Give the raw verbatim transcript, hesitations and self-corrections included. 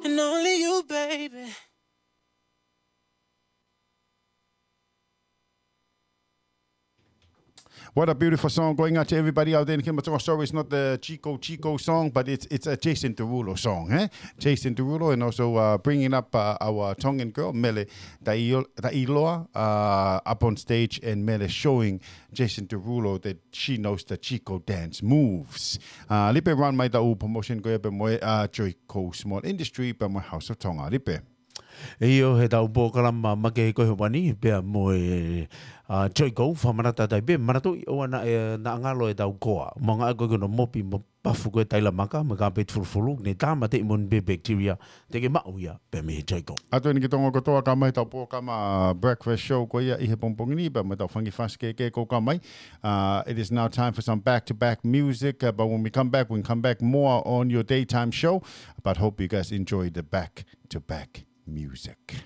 And only you, baby. What a beautiful song going out to everybody out there in Himatonga. Sorry, it's not the Chico Chico song, but it's it's a Jason Derulo song, eh? Jason Derulo, and also uh, bringing up uh, our Tongan girl, Mele Taio- Tailoa, uh, up on stage, and Mele showing Jason Derulo that she knows the Chico dance moves. Uh, Lipe, run mai ʻetau promotion ko ia pea mo e uh, Joy Coast Small Industry pea mo e House of Tonga. Lipe. ʻIo, heʻetau polokalama makehe ko ē he ʻaho ni, pea mo e uh, Joy Coast, fakamanatu atu ai pē, manatuʻi ʻoua naʻa ngalo ʻetau koa. Mo e ngaahi ko ē ko hono mopi mo pafu ko ē taila maka, mo e kāpeti fulufulu, ne tāmateʻi moʻoni pē bacteria, te ke maʻu ia pē mei he Joy Coast. ʻA ia eni ki he Tonga kotoa, ka mai ʻetau polokalama breakfast show ko ia ʻi he pongipongi ni, pea mo ʻetau fanga kiʻi fasi kehekehe ko ē ka mai. Uh, it is now time for some back-to-back music, uh, but when we come back, we can come back more on your daytime show, but hope you guys enjoy the back-to-back music.